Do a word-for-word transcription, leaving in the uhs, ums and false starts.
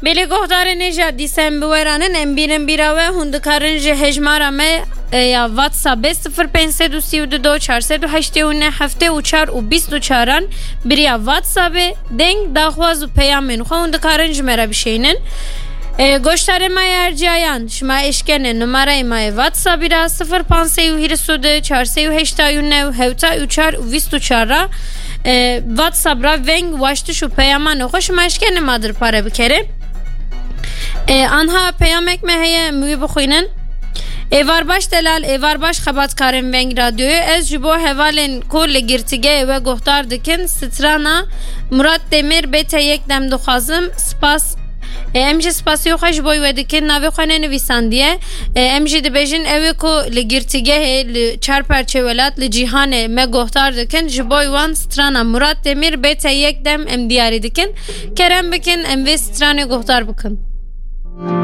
Belê guhdarên hêja dîsa em bi we re nin, em bînin bîra we, hûn dikarin ji hejmara me, e, ya WhatsAppê sifir pênc sed û sî û du çar sed û heştê û neh heftê û çar û bîst û çaran bi riya WhatsAppê deng, daxwaz û peyamên xwe hûn dikarin ji me re bişeynin. E, goştarê me yê herciyayan, şima eşkene numarayê me yê WhatsAppî re sifir pênc sed û hîris û du çar sed û heştê û neh hewtê û çar û bîst û çar re, e, WhatsApp re veng, waştiş û peyamanê xwe şima eşkene ma dir pare bikere. E, anha peyamek me heye, em wî bixwînin. Êvar baş delal, êvar baş xebatkarên Veng Radyoyê. Ez ji bo hevalên ku li girtîgehê we guhdar dikin, strana Murat Demir B T yek dem dixwazim. Spas. E, em jî spasiyê xwe ji bo we dikin. Navê xwe nenivîsandiye. E, em jî dibêjin, ew ê ku li girtîgehê, li çar perçê welat, li cîhanê me guhdar dikin, ji bo wan strana Murat Demir B T yek dem em diyarî dikin. Kerem bikin, em vê stranê guhdar bikin.